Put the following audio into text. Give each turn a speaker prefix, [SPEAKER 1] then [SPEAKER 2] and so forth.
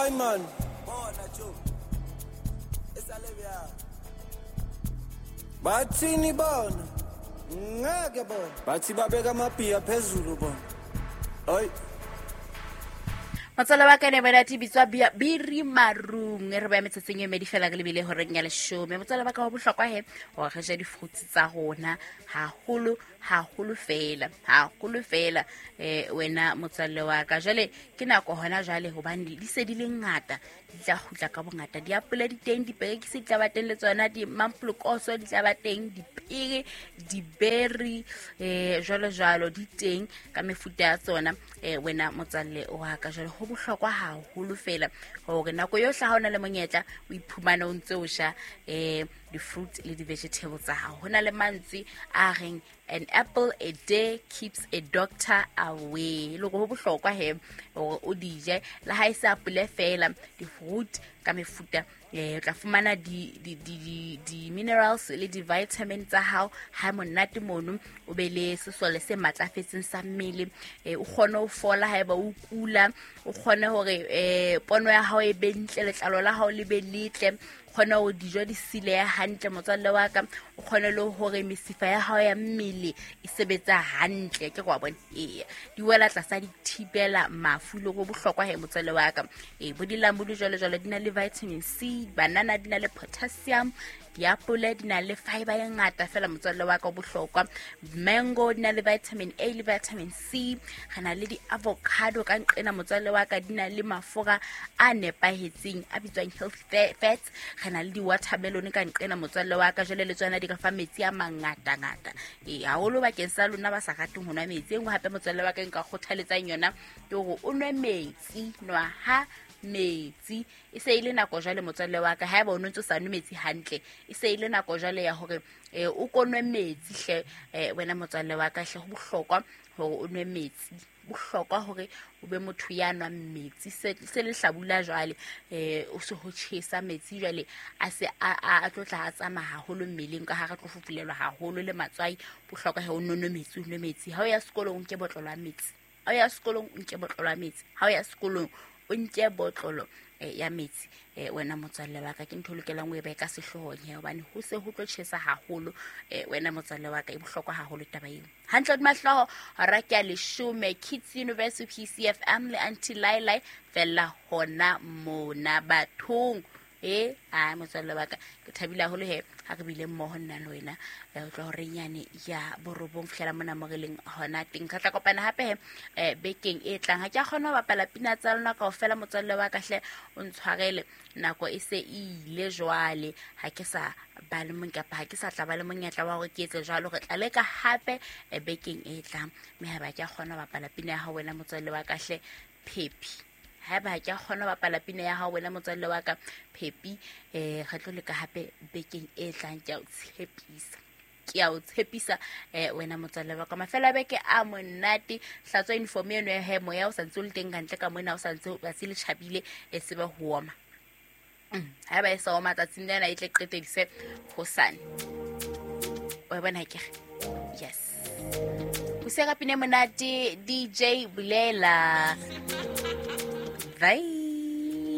[SPEAKER 1] Hayi man, bona jo. Esale bya. Bathini bona? Ngeke bona. Bathi babeka amabhiya phezulu bona. Hayi.
[SPEAKER 2] Motswala wa ka ne bona bitswa biri marung e re baya metsotsong e medi fela re lebile horeng ya leshome. Motswala wa ka wa bohlokwa he gore re je di-fruits tsa rona haholo haholo fela, haholo fela. Wena motswalle wa ka, jwale ke nako hona jwale hobane di se di le ngata, di tla kgutla ka bongata. Diapole di teng, diperekisi di tla ba teng le tsona, dimampolokoso di tla ba teng, dipere, diberi, jwalo jwalo di teng ka mefuta ya tsona. Wena motswalle wa ka, jwale ho bohlokwa haholo fela hore nako yohle ha o na le monyetla o iphumane o ntse o ja di-fruit le di-vegetable tsa hao. Ho na le mantswe a reng an apple a day keeps a doctor away. Le hore ho bohlokwa he hore o di je, le ha e se apole fela, di-fruit ka mefuta, o tla fumana di-minerals le di-vitamin tsa hao ha monate mono, o be le sesole se matlafetseng sa mmele, o kgone ho fola haeba o kula, o kgone hore pono ya hao e be ntle, letlalo la hao le be letle, kgone hore dijo di silehe hantle motswalle wa ka, o kgone le hore mesifa ya hao ya mmele e sebetsa hantle. Ke kwa bona, eya, di wela tlasa di thibela mafu le go bohlokwa he motswalle wa ka. Bo dilamunu jwalo jwalo di na le vitamin C, banana di na le potassium, diapole di na le fiber e ngata fela motswalle wa ka o bohlokwa, mango di na le vitamin A le vitamin C, re na le di-avocado ka nqena motswalle wa ka, di na le mafura a nepahetseng a bitswang healthy fats, re na le di-watermelon ka nqena motswalle wa ka, jwale le tsona di re fa metsi a mangatangata. Haholo bakeng sa lona ba sa rateng ho nwa metsi. E nngwe hape motswalle wa ka nka kgothaletsang yona ke hore o nwe metsi, nwa ha metsi. E se e le nako jwale motswalle wa ka, haeba o no ntso sa nwe metsi hantle, e se e le nako jwale ya hore o ko nwe metsi hle, wena motswalle wa ka hle, ho bohlokwa hore o nwe metsi, bohlokwa hore o be motho ya nwang metsi. Se le hlabula jwale, o se ho tjhesa metsi jwale a se a tlo tla a tsamaya haholo mmeleng ka ha re tlo fufulelwa haholo le matswai. Bohlokwa he o nwe metsi, o nwe metsi. Ha o ya sekolong o nke botlolo ya metsi, ha o ya sekolong o nke botlolo ya metsi, ha o ya sekolong o nke botlolo ya metsi. Wena motswalle wa ka, ke ntho e lokelang o e behe ka sehloohong he, hobane ho se ho tlo tjhesa haholo. Wena motswalle wa ka, e bohlokwa haholo taba eo. Hantle hodima hlooho hora ke ya leshome, Kids University PCFM le Aunty Lailai fella hona mona bathong. A motswalle wa ka, ke thabile haholo he ha re bile mmoho nna le wena, ho tloha horeng yane ya borobong fihlela mona mo re leng hona teng. Re tla kopana hape he bekeng e tlang. Ha ke a kgona ho bapala pina tsa lona kaofela motswalle wa ka hle, o ntshwarele, nako e se e ile jwale, ha ke sa ba le mong kapa ha ke sa tla ba le monyetla wa hore ke etse jwalo. Re tla leka hape bekeng e tlang, mme haeba ke a kgona ho bapala pina ya hao wena motswalle wa ka hle, Phepi. Haeba ha ke a kgona ho bapala pina ya hao wena motswalle wa ka Phepi, re tlo leka hape bekeng e tlang. Ke a o tshepisa, ke a o tshepisa, wena motswalle wa ka. Mafelo a beke a monate, hlatswa uniform eno ya he, moya o sa ntse o le teng kantle ka mona, o sa ntse tsatsi le tjhabile, e tsebe ho oma. Haeba e sa oma tsatsing lena, e tle qetedise hosane. Wa bona ke re? Yes. Ho se ka pina monate, DJ Bulela. Bye.